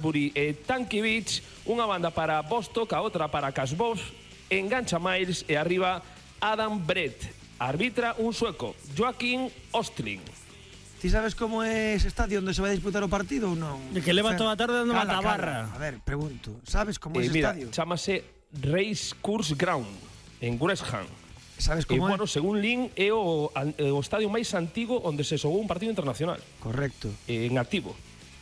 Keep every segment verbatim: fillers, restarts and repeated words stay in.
Buri e Tankiewicz, unha banda para Bostock, a outra para Kasbos, engancha Miles e arriba Adam Brett. Arbitra un sueco, Joaquín Ostling. Ti sabes como é ese estadio onde se vai disputar o partido ou non? De que leva toda a tarde dando mata barra. A ver, pregunto, sabes como é Eh, ese mira, estadio? chamase Race Course Ground, en Gresham. Sabes E, como é? bueno, según Lin, é o, o estadio máis antigo onde se xogou un partido internacional. Correcto. En activo.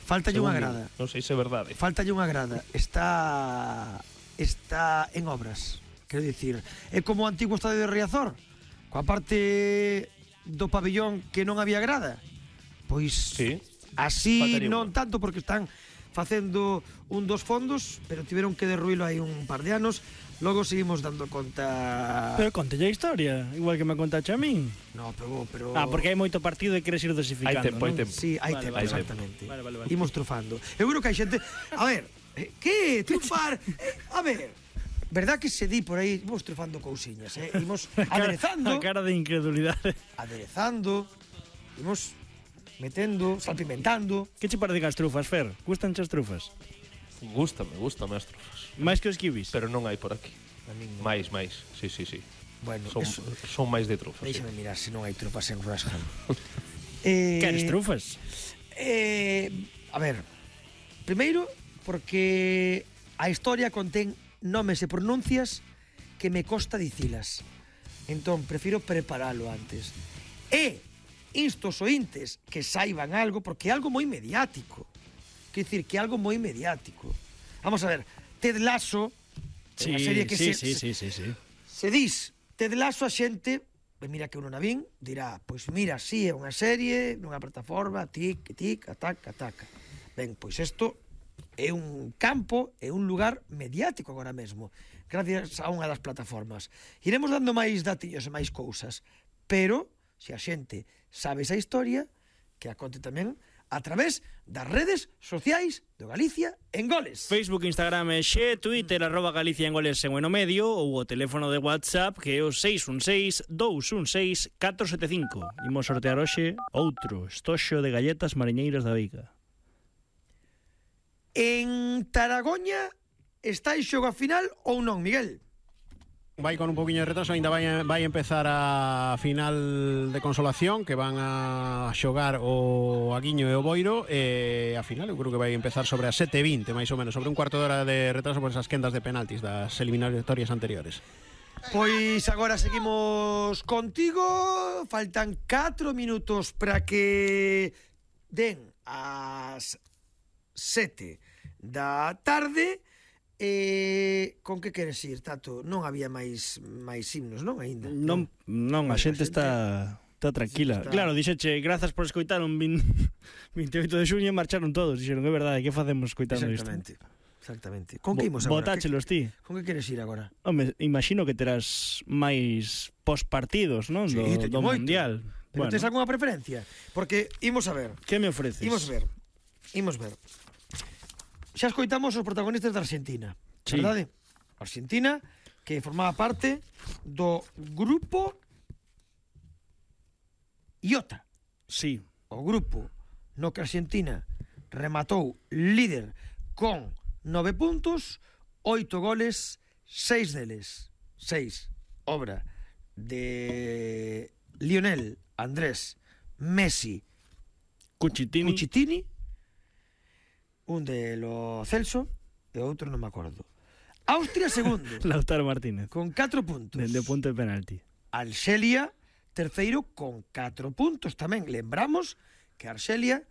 Faltalle unha Según grada. Lin. Non sei se é verdade. Faltalle unha grada. Está está en obras. Quero dicir, é como o antigo estadio de Riazor, coa parte do pabillón que non había grada. Pois Sí. así Faltaría non unha. tanto, porque están facendo un dos fondos, pero tiveron que derruílo hai un par de anos. Logo seguimos dando conta. Pero contelle a historia, igual que me contache a min. No, pero, pero... Ah, porque hai moito partido e queres ir dosificando, Hai tempo, hai non? tempo. Sí, hai Vale, tempo, vale, exactamente. vale, vale, vale. Imos trufando. Eu creo que hai xente... A ver, eh, que? Trufar? Eh, a ver, verdad que se di por aí, imos trufando cousiñas, eh? Imos aderezando, A cara de incredulidade. aderezando, imos metendo, salpimentando. Que che parecen as trufas, Fer? Gustan as trufas? Gústame, gústame as trufas. Máis que os kibis? Pero non hai por aquí. A min non. Máis, máis. Sí, sí, sí. Bueno, Son, eso, son máis de trufas. Sí. déixame mirar se non hai trufas en Gresham. eh, Queres trufas? Eh, a ver, primeiro porque a historia contén nomes e pronuncias que me costa dicilas. Entón, prefiro preparalo antes. E insto os ointes que saiban algo, porque é algo moi mediático. Quer dicir, que é algo moi mediático. Vamos a ver, Ted Lasso, Sí, unha serie que sí, se, sí, sí, sí, sí. se dis Ted Lasso, a xente, ben, mira que eu non a vin, dirá, pois mira, si é unha serie, nunha plataforma, tic, tic, ataca, ataca. Ben, pois isto é un campo, é un lugar mediático agora mesmo, gracias a unha das plataformas. Iremos dando máis datillos e máis cousas, pero, se a xente sabe esa historia, que a conte tamén a través das redes sociais do Galicia en Goles. Facebook, Instagram e xe, Twitter, arroba Galicia en Goles en o medio, ou o teléfono de WhatsApp que é o seis un seis, dous un seis, catro sete cinco. Imos sortear hoxe outro estoxo de galletas mariñeiras da Veiga. En Taragoña está en xogo a final ou non, Miguel? Vai con un poquinho de retraso, ainda vai, vai empezar a final de consolación, que van a xogar o Aguiño e o Boiro, e a final eu creo que vai empezar sobre as sete e vinte, máis ou menos, sobre un cuarto de hora de retraso por esas quendas de penaltis das eliminatorias anteriores. Pois agora seguimos contigo. Faltan catro minutos para que den as sete da tarde. Eh, con que queres ir, Tato? Non había máis máis himnos, non, aínda? Non, non, a xente está está tranquila. Está... Claro, dixeche, grazas por escoitar un veinte e oito de xuño e marcharon todos. Dixeron, é verdade, que facemos escoitando isto? Exactamente. Exactamente. Con que imos agora? Botáchelos ti. Con que queres ir agora? Home, imagino que terás máis pospartidos, non? Sí, Do, teño do moito. Mundial. Pero Bueno, tens algunha preferencia? Porque imos a ver. que me ofreces? Imos ver. Imos ver. Xa escoitamos os protagonistas da Argentina, Sí. verdade? Argentina, que formaba parte do grupo Iota. Sí. O grupo no que Argentina rematou líder con nove puntos, oito goles, seis deles, seis, obra de Lionel Andrés Messi Cuchitini. Cuchitini, un de Lo Celso e outro non me acordo. Austria segundo Lautaro Martínez. con catro puntos. Dende o punto de penalti. Arxelia terceiro con catro puntos tamén. Lembramos que Arxelia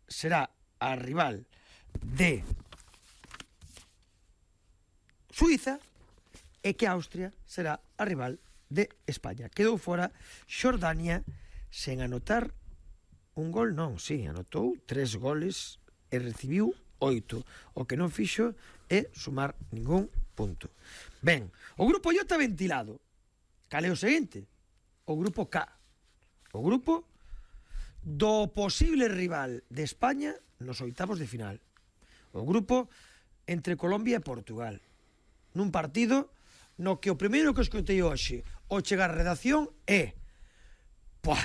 será a rival de Suiza e que Austria será a rival de España. Quedou fora Xordania sen anotar un gol, non, sí, anotou tres goles e recibiu oito. O que non fixo é sumar ningún punto. Ben, o grupo Iota ventilado. Cal é o seguinte? O grupo K. O grupo do posible rival de España nos oitavos de final. O grupo entre Colombia e Portugal. Nun partido no que o primeiro que escoitei hoxe ao chegar a redacción é Puah,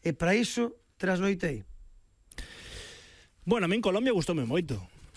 e para iso trasnoitei. Bueno, a min Colombia gustoume moito.